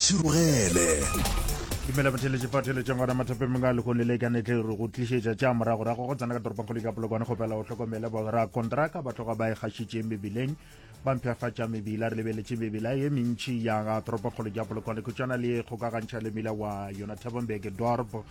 Ntšhirogele. Dumela batheletši fa theletšeng gona mathapeng a lehono le ka netle re go tlišetša tša moragorago go tsena ka toropongkgolo ka Polokwane. Kgopela o hlokomele borakontraka ba tloga ba e gašitše mebileng ba mpshafatša mebila. Re lebeletše mebila ye mentši ya ga toropongkgolo ya Polokwane khutšana le kgokagantšha le mila wa yona Thabombeke Dorp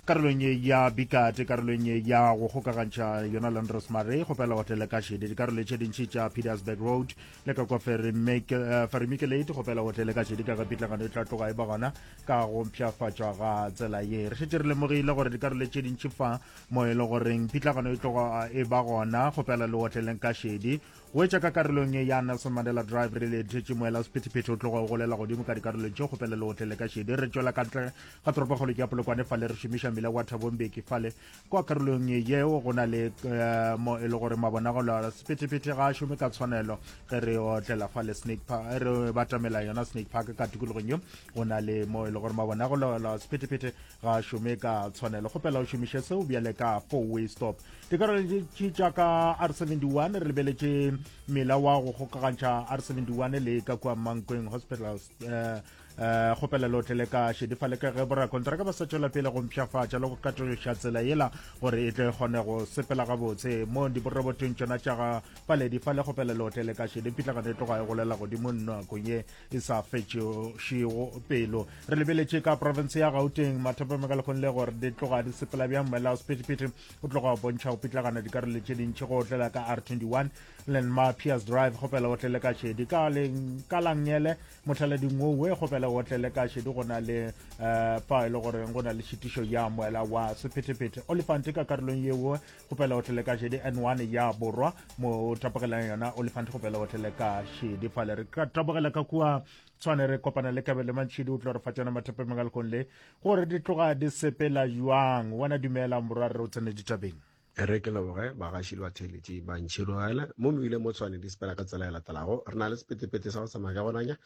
karolong ye ya Bikate, karolong ye ya go kgokagantšha yona Landros Mare. Kgopela o tlele ka šedi dikarolo tše dintši tša Pietersburg Road le ka kwa Ferimikelate. Kgopela o tlele ka šedi ka ge pitlagano e tla tloga e ba gona ka go mpshafatšwa ga tsela ye. Re šetše re lemogile gore dikarolo tše dintši fa mo e le goreng pitlagano e tloga e ba gona. Kgopela le otleleng ka šedi Go etša ka karolong ye ya Nelson Mandela Drive, re letetše moela sephethephethe o tloga o golela godimo ka dikarolong tše kgopela leotle le ka šedi. Re tšwela ka ntle ga toropokgolo ya Polokwane fale re šomiša mmila wa Thabo Mbeki fale. Kwa karolong yeo go na le eh, mo e le gore mabonagalo a sephethephethe ga a šome ka tshwanelo ge re otlela fale Snake Park, re batamela yona Snake Park ka tikologong yeo go na le mo e le gore mabonagalo a sephethephethe ga a šome ka tshwanelo. Kgopela o šomiše seo bjale ka four way stop. Dikarolo tše tša ka R71 re lebeletše mela wa go kgokagantšha R71 le ka kua Mankweng Hospital. Eh, eh, kgopela le otlele ka šedi fa le ka ge borakontraka ba sa tšwela pele go mpshafatša le go katološa tsela yela gore e tle kgone go sepela gabotse mo diborobotong tšona tša ga paledi fa le kgopela le otlele ka šedi pitlagano e tloga e golela godimo nakong ye e sa fetšego pelo. Re lebeletše ka profense ya Gauteng mathapama ka lekgong le gore di tloga di sepela bjang moela wa sephethephethe o tloga o bontšha go pitlagana dikarolo tše dintši go otlela ka R21 Lenma Piers Drive kgopela o tlele ka šedi ka leng ka langele mothalading owe kgopela o tlele ka šedi go na le uh, fa e le gore go na le šitišo ya moela wa sephethephethe Olifant ka karolong yeo kgopela o tlele ka šedi N1 ya borwa mo o tapogelang yona Olifant kgopela o tlele ka šedi fale re ka tabogela ka kua tshwane re kopana le Kabelo Mantšhidi o tlo re fa tšona mathapeng a lekgong le gore di tloga di sepela jwang. Wena dumela morwa re o tsene ditabeng. Re ke leboge bagaši le batheeletši ba ntšhirogela mo mebileng mo Tshwane di sepela ka tsela e latelago. Re na le sepetepete sa go tsamaya ka gonanya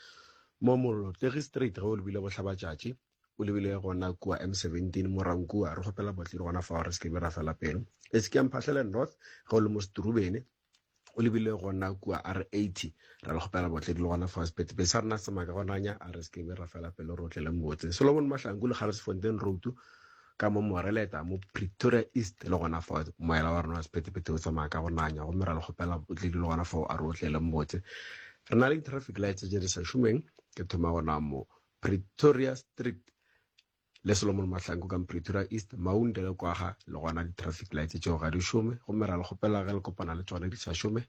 mo Molotlegi Street ge o lebile bohlabatšatši o lebile gona kua M17 Morankua re kgopela botledi gona fao re se ke be ra fela pelo. E se ke ya Mphahlele North ge o le mo Seturubene o lebile gona kua R80 ra le kgopela botledi le gona fao sepetepete sa rena se tsamaya ka gonanya a re se ke be ra fela pelo re otlele motse. Solomon Mahlangu le Garsfontein Road ka mo Moreleta mo Pretoria East le gona fao moela wa rena wa sephethephethe o tsamaya ka go nanya gomme ra le kgopela botledi le gona fao a re otlele motse. Re na le di-traffic lights tše di sa šomeng ke thoma gona mo Pretoria Street le Solomon Mahlangu ka Pretoria East, Maunde le Kwaga le gona di-traffic lights tšeo ga di šome gomme ra le kgopela ge le kopana le tšona di sa šome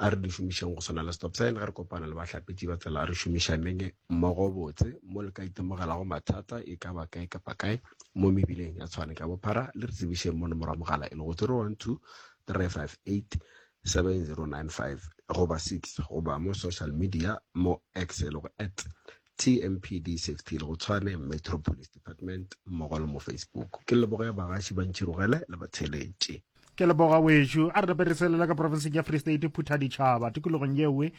a re di šomišeng go swana le stop sign ge re kopana le bahlapetši ba tsela a re šomišaneng mmogo botse mo le ka itemogelago mathata e ka ba kae kapa kae mo mebileng ya Tshwane ka bophara le re tsebišeng mo nomoro ya mogala e lego 012 358 7095 goba 6 goba mo social media mo X e lego at TMPD Safety le go Tshwane Metro Police Department mmogo le mo Facebook. Ke leboge bagaši ba Ntšhirogele le batheeletši. Ke leboga wešo. A re nape re selela ka profenseng ya Free State, Phuthaditšhaba. Tikologong yewe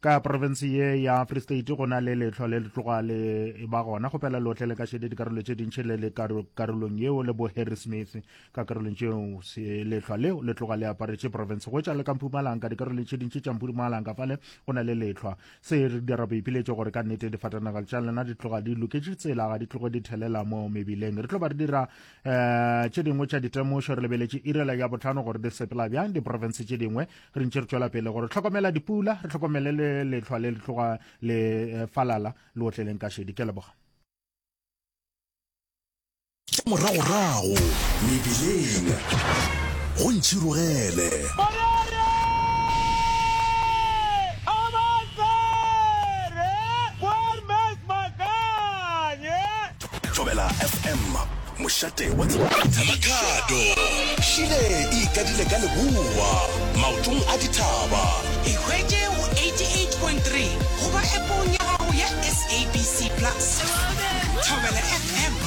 ka profense ye ya Free State go na le lehlwa le le tloga le ba gona. Kgopela le otlele ka šedi dikarolo tše dintši le le karolong yeo le bo Harry Smith ka karolong tšeo lehlwa leo le tloga le aparetše profense go etša le ka Mpumalanga dikarolong tše dintši tša Mpumalanga fale go na le lehlwa. Se re dira boipiletšo gore ka nnete difatanaga tša lena di tloga di loketše tsela, ga di tloge di thelela mo mebileng. Re tlo ba re dira um tše dingwe tša ditemošo re lebeletše irela ya botlhano gore di sepela bjang diprofense tše dingwe re ntše re tšwela pele gore hlokomela dipula, re hlokomele le lehlwa le le tloga le eh, falala le otleleng ka šedi. Ke leboga. Tša moragorago mebileng go ntšhirogele. Thobela FM, mošate wa tsebo le boithabišo. Makhado, Šile e ikadile ka leboa, maotong a dithaba. Ikhwetše go 88.3 goba appong ya gago ya SABC Plus. Thobela FM.